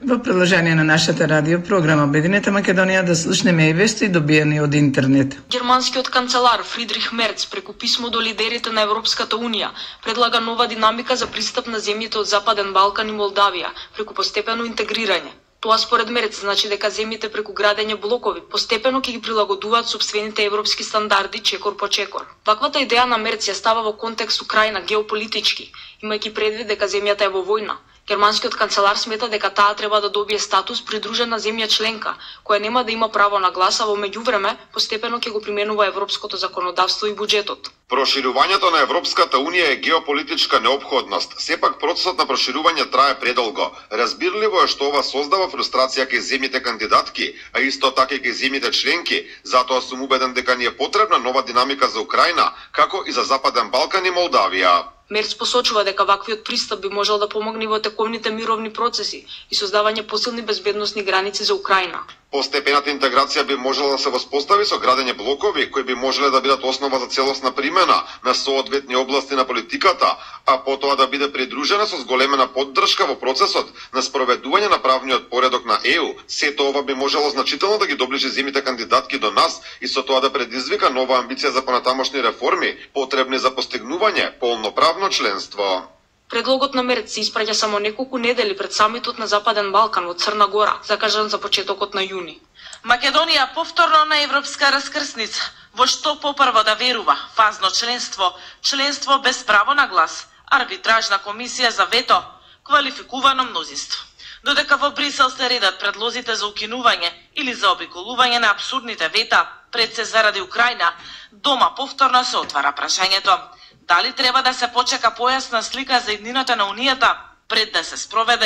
Во приложение на нашата радио програма Обединета Македонија да слушнеме и вести добиени од интернет. Германскиот канцелар Фридрих Мерц преку писмо до лидерите на Европската Унија предлага нова динамика за пристап на земјите од Западен Балкан и Молдавија преку постепено интегрирање. Тоа според Мерц значи дека земјите преку градење блокови постепено ќе ги прилагодуваат сопствените европски стандарди чекор по чекор. Ваквата идеја на Мерц ја става во контекст Украина геополитички, имајќи предвид дека земјата е во војна. Германскиот канцелар смета дека таа треба да добие статус придружена земја членка, која нема да има право на глас, а во меѓувреме постепено ќе го применува европското законодавство и буџетот. Проширувањето на Европската Унија е геополитичка неопходност. Сепак процесот на проширување трае предолго. Разбирливо е што ова создава фрустрација кај земјите кандидатки, а исто така и кај земјите членки. Затоа сум убеден дека ни е потребна нова динамика за Украина, како и за Западен Балкан и Молдавија. Мерц посочува дека ваквиот пристап би можел да помогне во тековните мировни процеси и создавање посилни безбедносни граници за Украина. Постепената интеграција би можела да се воспостави со градење блокови кои би можеле да бидат основа за целосна примена на соодветни области на политиката, а потоа да биде придружена со зголемена поддршка во процесот на спроведување на правниот поредок на ЕУ. Сето ова би можело значително да ги доближи земјите кандидатки до нас и со тоа да предизвика нова амбиција за понатамошни реформи, потребни за постигнување полноправно членство. Предлогот на Мерц се испраќа само неколку недели пред самитот на Западен Балкан во Црна Гора, закажан за почетокот на јуни. Македонија повторно на европска раскрсница. Во што попрво да верува? Фазно членство, членство без право на глас, арбитражна комисија за вето, квалификувано мнозинство. Додека во Брисел се редат предлозите за укинување или за обиколување на абсурдните вета, пред се заради Украина, дома повторно се отвара прашањето: дали треба да се почека појасна слика за иднината на Унијата пред да се спроведе